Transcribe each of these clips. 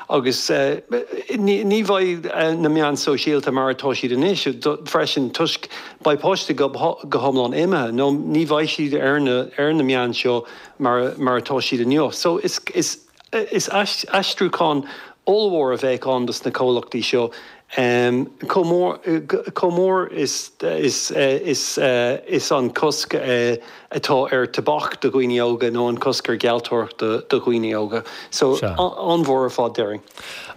Agus ní bheidh na meáin sóisialta mar atá siad anois freisin toisc beidh páistí go hiomlán imithe nó ní bheidh siad ar na ar na meáin seo mar mar atá siad inniu. So is is is aistriúchán ollmhór a bheadh ann dos na comhlachtaí seo chomh mór chomh mór is is is is an cosc atá ar tobac do dhaoine óga nó an cosc ar ghealltóireacht do dhaoine óga. So, an-mhór ar fad, déarfainn.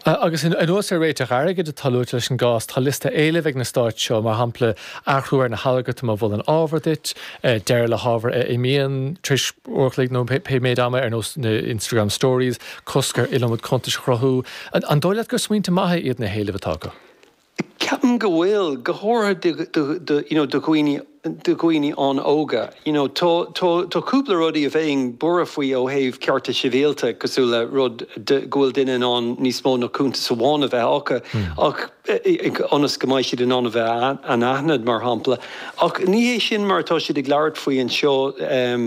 Agus anuas ar réiteach airgid atá luaite leis an gcás, tá liosta éileamh ag na stáit seo, mar shampla, athrú ar na halgartaim a mholann ábhar duit, deireadh le hábhar a imíonn tar éis uair a chloig nó pé méid ama, ar nós na Instagram Stories, cosc ar iliomad cuntais a chruthú. An dóigh leat gur smaointe maithe iad na héilimh atá acu? Ceapaim go bhfuil, go háirithe do, do, you know, do dhaoine, do dhaoine an-óga. You know, tá, tá, tá cúpla rudaí a bheinn buartha faoi ó thaobh cearta sibhialta, cosúil le rud de, go bhfuil duine in ann níos mó ná cuntas amháin a bheith acu, ach ionas go mbeidh siad in ann a bheith anaithnid, mar shampla. Ach ní hé sin mar atá siad ag labhairt faoi anseo,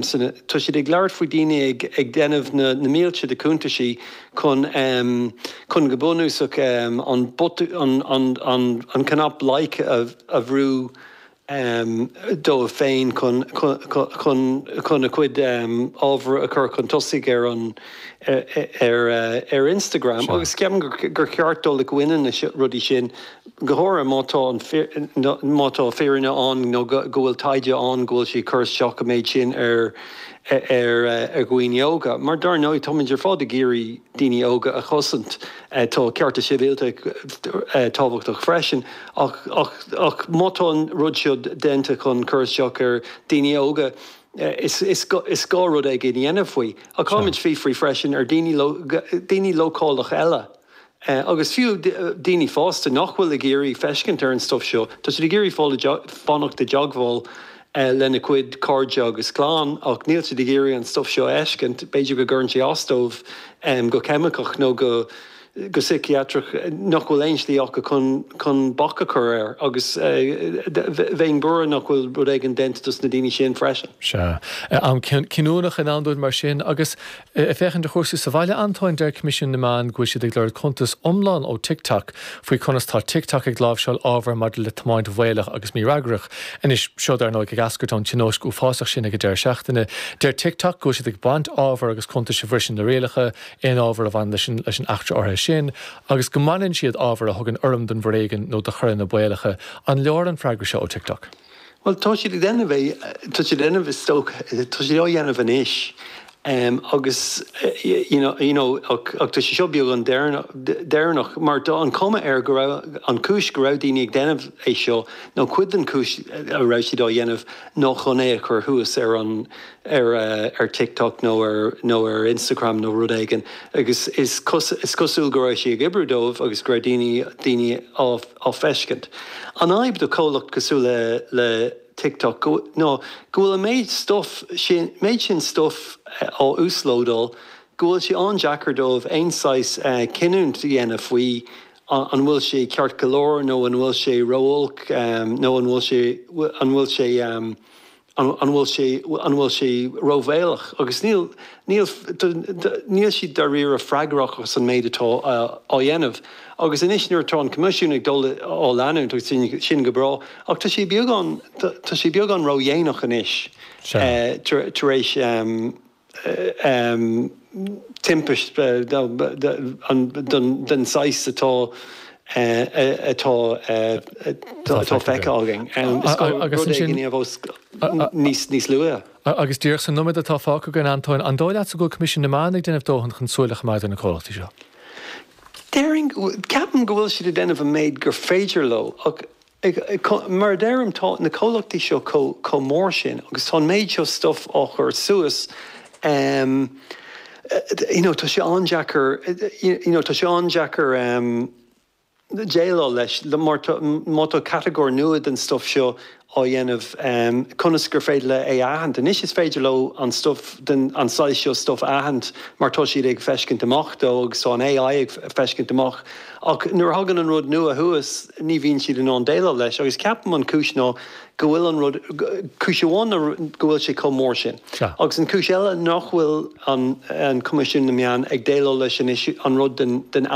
san, tá siad ag labhairt faoi daoine ag, ag déanamh na, na mílte de cuntaisí chun chun go bunúsach an botún an an an cnap like a a bhrú dóibh féin chun chun chun a gcuid ábhar a chur chun tosaigh ar an ar ar Instagram agus ceapaim gur gur cheart dul i gcoinne na rudaí sin go háirithe má tá an má tá fírinne ann nó go go bhfuil taighde ann go bhfuil sé ag cur isteach an méid sin ar ar dhaoine óga. Mar dar ndóigh, táimid ar fad ag iarraidh daoine óga a chosaint. Tá cearta sibhialta tábhachtach freisin, ach ach má tá an rud seo déanta chun cur isteach ar daoine óga, is is gá rud éigin a dhéanamh faoi. Ach caithfimid fiafraí freisin ar daoine daoine leochaileach eile. Agus fiú daoine fásta nach bhfuil ag iarraidh feiscint ar an stuif seo, tá siad ag iarraidh fáil fanacht i dteagmháil lena gcuid cairde agus clann ach níl siad ag iarraidh an stuif seo a fheiscint, b'fhéidir go gcuireann sé as dóibh go ceimiceach nó go go síciatrach nach bhfuil aon slí acu chun chun bac a chur air agus bheinn buartha nach bhfuil rud éigin déanta dos na daoine sin freisin. Sea. Am cinniúnach i ndán dúinn mar sin agus Ag féachaint ar chúrsaí sa bhaile, Antóin, deir Coimisiún na Meán go bhfuil siad ag lorg cuntas iomlán ó TikTok faoi conas tá TikTok ag láimhseáil ábhar maidir le tiomáint bhaolach agus mífhreagrach. Anois, seo dar ndóigh ag eascairt ón tionóisc uafásach sin ag an deireadh seachtaine. Deir TikTok go bhfuil siad ag baint ábhar agus cuntais a bhriseann na rialacha, aon ábhar a bhaineann leis an leis an eachtra áirithe sin, agus go mbaineann siad ábhar a thugann urraim don bhforéigean nó do choireanna baolacha. An leor an freagra seo ó TikTok? Bhuel, tá siad ag déanamh é, tá siad ag déanamh is dócha, tá siad á dhéanamh anois agus you know, you know ach tá sé seo beagán deireanach mar tá an chuma air go raibh an chúis go raibh daoine ag déanamh é seo nó cuid den chúis a raibh siad á dhéanamh ná chun é a chur thuas ar an ar ar TikTok nó ar nó ar Instagram nó rud éigin agus is is cosúil go raibh sé ag oibriú dóibh agus go raibh daoine daoine á á feiscint. An fhadhb do chomhlacht cosúil le le TikTok go ná go bhfuil an méid stuif sin méid sin stuif á uaslódáil go bhfuil sé an-deacair dóibh aon saghas cinniúint a dhéanamh faoi an bhfuil sé ceart go leor nó an bhfuil sé ró-olc nó an bhfuil sé an bhfuil sé An bhfuil sé, an bhfuil sé róbhaolach? Agus níl, níl, níl siad dáiríre freagrach as an méid atá á dhéanamh. Agus anois nuair atá an Coimisiún ag dul á leanúint, agus sin go breá, ach tá sé beagán, tá sé beagán ródhéanach anois tar éis, timpist den saghas atá atá atá feicthe againn. Is gá rud éigin a dhéanamh níos luaithe. Agus díreach sa nóiméad atá fágtha againn, Antóin, an dóigh leatsa go bhfuil Coimisiún na Meán ag déanamh dóthain chun súil a choimeád ar na comhlachtaí seo? Déarfainn, ceapaim go bhfuil siad ag déanamh an méid gur féidir leo ach Mar a deirim, tá na comhlachtaí seo chomh mór sin agus tá an méid seo stuif á chur suas, you know, tá sé an-deacair, you know, tá sé an-deacair déileáil leis mar má tá catagóir nua den stuif seo á dhéanamh, conas gur féidir le é a aithint? Anois is féidir leo an stuif den, an saghas seo stuif a aithint mar tá siad ag feiscint amach dó agus tá an AI ag feiscint amach. Ach nuair a thagann an rud nua thuas, ní bhíonn siad in ann déileáil leis. Agus ceapaim an chúis ná go bhfuil an rud, cúis amháin ná go bhfuil sé chomh mór sin. Agus an chúis eile nach bhfuil an Coimisiún na Meán ag déileáil leis anois, an rud den, den.